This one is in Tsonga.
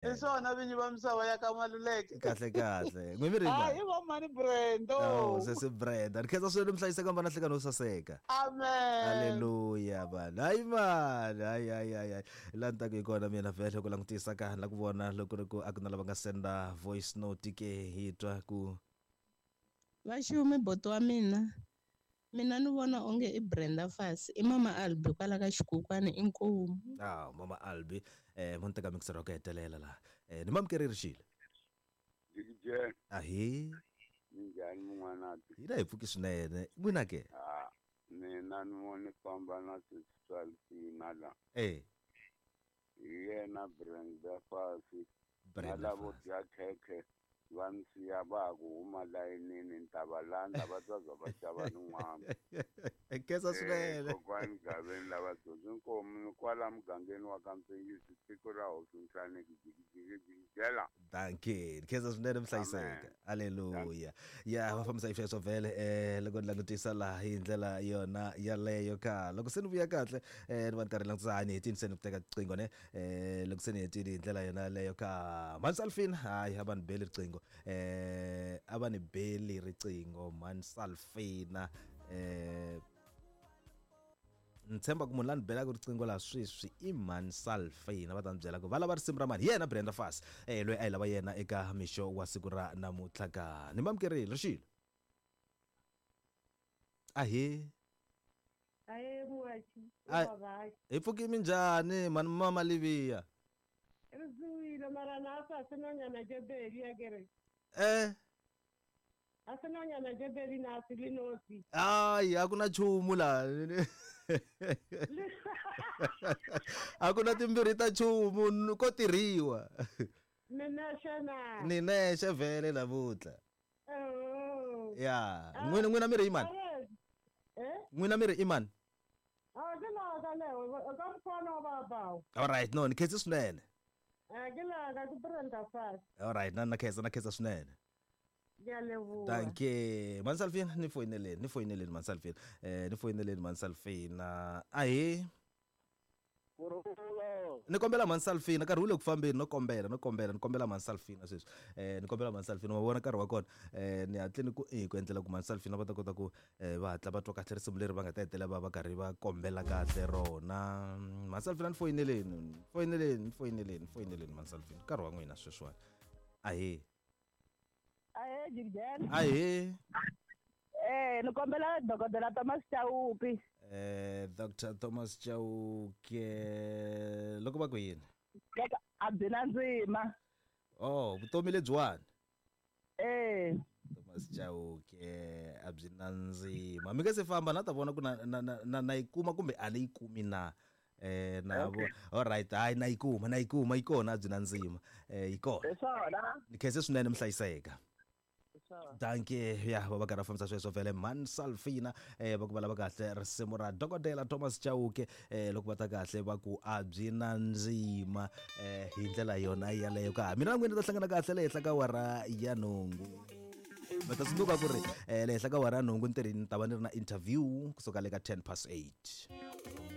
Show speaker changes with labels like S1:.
S1: Hi swona vinyi va misava ya ka Maluleke.
S2: Kahle kahle. N'wi mi ri
S1: Hayi va mhani Brenda.
S2: Oh, sesi Brenda. Ni khensa swinene mihlayiseka mbana hlekani wo saseka.
S1: Amen.
S2: Haleluya vanhu. Hayi mani, hayi hayi hayi. hayi. La ni taku hi kona mina vhele ku langutisa ka la ku vona loko ri ku a ku na lava nga senda voice note ke hi twa ku
S3: Vaxumi boti wa mina mina ni vona onge i Brenda Fassie i mama Albi kwala ka xikukwani inkomu.
S2: Ah, mama Albi eh mo ni teka mixer wa ku hetelela laha. Eh ni mamukerile xile.
S4: Jikijela.
S2: Ahi.
S4: Minjhani mun'wanati?
S2: Hina hi pfuki swinene. N'wina ke?
S4: Ah, mina ni vone famba na sesi la.
S2: Eh.
S4: Hi yena Brenda Fassie.
S2: Brenda
S4: Na lavo
S2: Fassie.
S4: dya khekhe va ni siya va ha ku huma layinini ni ta va landza va ta za va xava nin'wana.
S2: Khensa swinene.
S4: Kokwani Gaveni lava dyondzi nkomu ni kwala mugangeni wa ka Mpengisi tiko ra hosi Nhlaneki jikijiki jikijela.
S2: Dankie. Khensa swinene mhlayiseka. Haleluya. Ya va fambisa hi sweswo vhele eh loko ni langutisa laha hi ndlela yona yaleyo ka. Loko se ni vuya kahle eh ni va ni karhi langutisa hayi ni hetini se ni ku teka riqingho ne eh loko se ni hetini hi ndlela yona yaleyo ka. Mansalfin hayi a va ni beli riqingho. Eh a va ni beli riqingho Mansalfina eh ni tshemba ku munhu la ni belaka riqingho laha sweswi i mhani Salfina va ta ni byela ku va lava risimu ra mani hi yena Brenda Fassie eh loyi a yi lava yena eka mixo wa siku ra namuntlha ka ni mamukerile rixilo ahee
S5: Aye muachi,
S2: Ai.
S5: ubabaki.
S2: hi pfuki minjhani mhani mama Livia
S5: Re tsohile mara na a sa senonyana tše pedi a kere.
S2: eh
S5: A senonyana tše pedi na se le nosi.
S2: hayi a ku na nchumu laha a ku na timbirhi ta nchumu ko tirhiwa
S5: Ni nexe na.
S2: ni nexe vhele namuntlha
S5: Oh.
S2: ya n'wina n'wina mi ri i mani
S5: Are, eh?
S2: n'wina mi ri i mani
S5: A ke la ka leo, ka mkhona wa babao.
S2: alright no ni khensi swinene
S5: Eh ke la ka ke Brenda Fassie.
S2: alright na na khensa na khensa swinene
S5: Ke a leboha.
S2: dankie mansalfina ni foyineleni ni foyineleni mansalfina eh ni foyineleni mansalfina ahee
S6: Kurhula.
S2: ni kombela mansalfina nkarhi wu le ku fambeni no kombela no kombela ni kombela mansalfina sweswi eh ni kombela mansalfina wa vona nkarhi wa kona eh ni hatle ni ku eh ku endlela ku mansalfina va ta kota ku eh va hatla va twa kahle risimu leri va nga ta hetelela va va karhi va kombela kahle rona mansalfina ni foyineleni ni foyineleni ni foyineleni ni foyineleni mansalfina nkarhi wa n'wina sweswiwani ahee
S5: Aye Jikijela.
S2: ahee
S5: Eh ni kombela dokodela Thomas Chauke.
S2: eh Dr Thomas Chauke loko va ku yini
S5: Loko a byi na ndzima.
S2: oh vutomi lebyiwani
S5: Eh.
S2: Thomas Chauke a byi na ndzima mi nga se famba na ta vona ku na na na, na, na yi kuma kumbe a ni yi kumi na eh na vo alright hayi na yi kuma na yi kuma yi kona a byi na ndzima eh yi kona
S5: Hi swona.
S2: ni khense swinene mihlayiseka
S5: Hi swona.
S2: dankie ya va va karhi va fambisa sweswo vhele man salfina eh va ku va lava kahle risimu ra dokodela Thomas Chauke eh loko va ta kahle va ku a byi na ndzima eh hi ndlela yona yaleyo ka mina na n'wina ta hlangana kahle le henhla ka wara ya nhungu va ta tsundzuka ku ri eh le henhla ka wara ya nhungu ntirhini ni ta va ni ri na interview kusuka le ka 8:10.